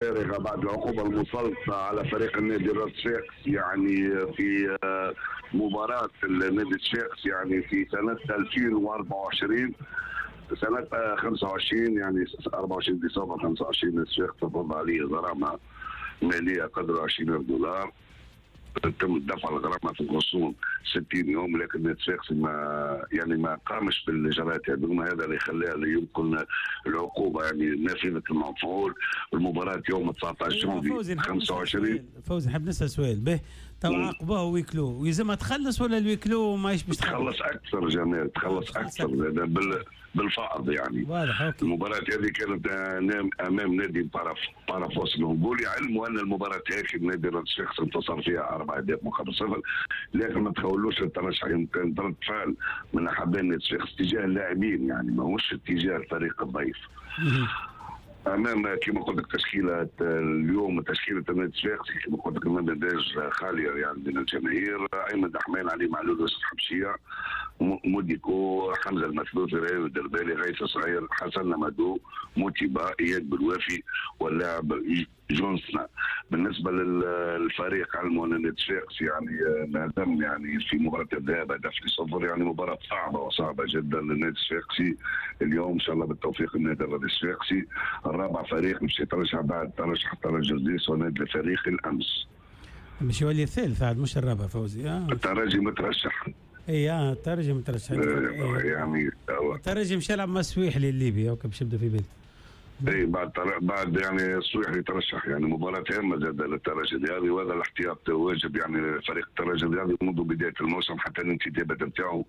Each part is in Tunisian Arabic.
فارغة بعد العقوبة المسلطه على فريق النادي الصفاقسي، يعني في مباراة النادي الصفاقسي يعني في سنة 2024، سنة 25، يعني 24 ديسمبر 25، الصفاقس تفرض عليه غرامة ماليه قدر 20000 دولار. تم دفع الغرامة في غصون 60 يوم، لكن النادي الصفاقسي ما يعني ما قامش بالاجراءات هذوما. هذا اللي خلاه يمكن العقوبة يعني نافذة المفعول. المباراة يوم 19 جانفي 25. فوزي، نحب نسال سؤال به تو. عاقبوه huis clos، ويلزمها تخلص ولا ال huis clos ماهيش باش تخلص؟ اكثر جمال، تخلص اكثر بالفائض يعني. واضح، OK. المباراة هذه كانت امام نادي بارافوس الانغولي. علموا ان المباراة هذه النادي الصفاقسي انتصر فيها 4 اهداف مقابل 0، لكن ما تخولوش الترشح. يمكن رد فعل من احباء النادي الصفاقسي اتجاه اللاعبين، يعني ماهوش اتجاه الفريق الضيف. امام كما قلت لك تشكيله اليوم، تشكيله النادي الصفاقسي كما قلت لك، المدرج خالية يعني من الجماهير: ايمن دحمان، علي معلول، يوسف حبشيه، موديكو، حمزة المثلوثي، ريان الدربالي، غيث صغير، حسن مادو، موتيبا، اياد بالوافي واللاعب جونسنا. بالنسبة للفريق، علموا ان النادي الصفاقسي يعني انهزم يعني في مباراة الذهاب هدف ل0، يعني مباراة صعبة وصعبة جدا للنادي الصفاقسي اليوم. ان شاء الله بالتوفيق للنادي الرياضي الصفاقسي، الرابع فريق مش يترشح بعد ترشح الترجي الجرجيس ونادي الفريق الامس. مش يولي الثالث عاد مش الرابع فوزي. الترجي مترشح. اي الترجي مترشح. يعني الترجي مش يلعب مع السويحلي الليبي، okay، باش يبدا في بالي. اي، بعد يعني السويحلي ترشح، يعني مباراة هامة زاد للترجي الرياضي، وهذا الاحتياط واجب. يعني فريق الترجي الرياضي منذ بداية الموسم حتى الانتدابات نتاعو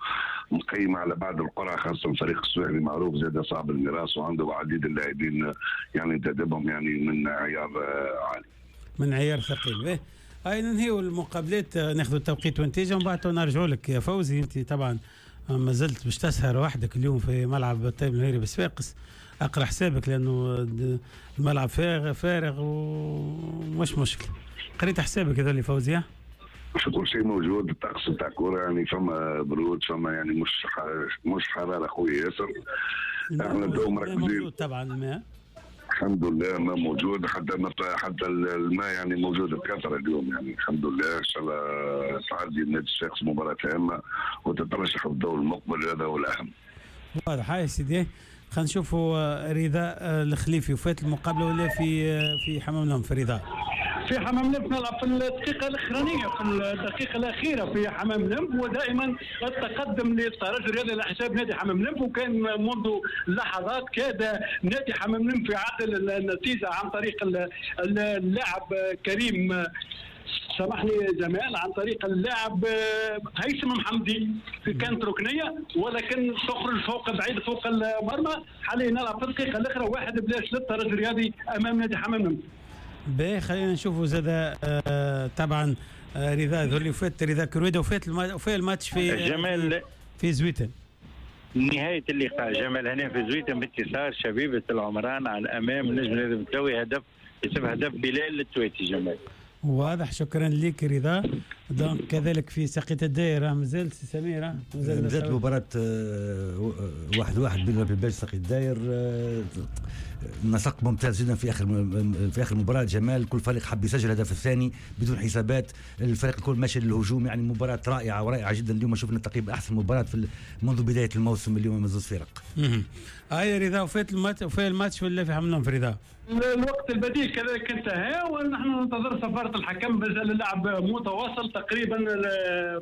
مقيمة على بعد القرعة، خاصة فريق السويحلي معروف زاد صعب المراس وعنده عديد اللاعبين يعني انتدبهم يعني من عيار عالي. من عيار ثقيل. به، هاي ننهيو المقابلات، ناخذ التوقيت والنتيجة ومن بعد نرجعوا لك يا فوزي. انت طبعا ما زلت باش تسهر وحدك اليوم في ملعب الطيب المهيري بصفاقس. اقرا حسابك لانه الملعب فارغ فارغ ومش مشكل. قريت حسابك هذا اللي فوزي؟ كل شيء موجود. الطقس نتاع كورة يعني فما برود، فما يعني مش حرارة خويا ياسر. احنا تو مركزين. موجود طبعا الماء؟ الحمد لله ما موجود، حتى الماء يعني موجود بكثرة اليوم، يعني الحمد لله. ان شاء الله تعدي النادي الصفاقسي مباراة هامة وتترشح في الدور المقبل، هذا هو الاهم. واضح. هاي سيدي، خلينا نشوفوا رضا الخليفي، وفات المقابلة ولا في حمام الأنف رضا؟ في حمام الأنف نلعب في الدقيقة الأخرانية، في الدقيقة الأخيرة في حمام الأنف، ودائما التقدم للترجي الرياضي على حساب نادي حمام الأنف. وكان منذ لحظات كاد نادي حمام الأنف يعدل النتيجة عن طريق اللاعب كريم، سامحني جمال، عن طريق اللاعب هيثم محمدي في كانت ركنيه ولكن تخرج فوق بعيد فوق المرمى. حاليا نلعب في الدقيقة الاخرى، 1-0 للترجي الرياضي امام نادي حمام الأنف. باهي، خلينا نشوفوا زاد طبعا رضا ذولي فات، رضا كرويده، وفات وفات الماتش في جمال في زويتن. نهاية اللقاء جمال هنا في زويتن بانتصار شبيبة العمران على أمام نجم المتلوي، هدف يسمى هدف بلال التويتي جمال. واضح، شكرا لك رضا. donc كذلك في ساقية الدايرة مازال سي سميرة؟ مازالت مباراة 1-1 بين الباج ساقية الداير. نسق ممتاز جدا في اخر المباراة جمال. كل فريق حب يسجل الهدف الثاني بدون حسابات، الفريق الكل ماشي للهجوم، يعني مباراة رائعة ورائعة جدا. اليوم شفنا تقريبا احسن مباراة في منذ بداية الموسم اليوم من زوج فرق. هاي رضا، وفات الماتش، وفات الماتش ولا في حمام في رضا؟ الوقت البديل كذلك انتهى ونحن ننتظر صفارة الحكم. مازال اللعب متواصل تقريبا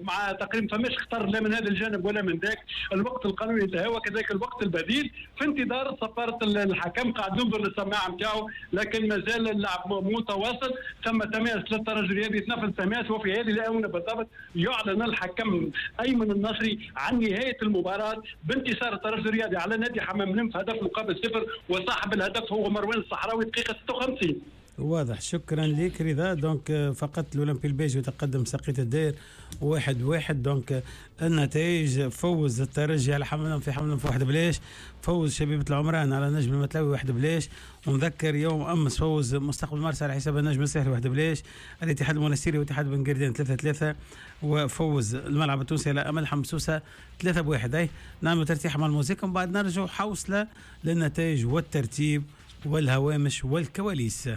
مع تقريبا فماش خطر لا من هذا الجانب ولا من ذاك. الوقت القانوني انتهى وكذلك الوقت البديل، في انتظار صفارة الحكم. قاعد ننظر للسماعة نتاعو لكن مازال اللعب متواصل. ثم تماس للترجي الرياضي، يتنفذ تماس، وفي هذه الاونة بالضبط يعلن الحكم ايمن النصري عن نهاية المباراة بانتصار الترجي الرياضي على نادي حمام الأنف هدف مقابل 0، وصاحب الهدف هو مروان الصحراوي، دقيقة 56. واضح، شكرا لك رضا. donc فقط الاولمبي الباجي يتقدم ساقية الداير 1-1. donc النتائج: فوز الترجي على حمام في حمام 1-0، فوز شبيبة العمران على نجم المتلوي 1-0. ونذكر يوم امس فوز مستقبل مرسى على حساب النجم الساحلي 1-0، الاتحاد المونستيري واتحاد بن قردان 3-3، وفوز الملعب التونسي على امل حمام سوسة 3-1. اي نعمل ترتيح مع الموسيقى ومن بعد نرجع حوصله للنتائج والترتيب والهوامش والكواليس.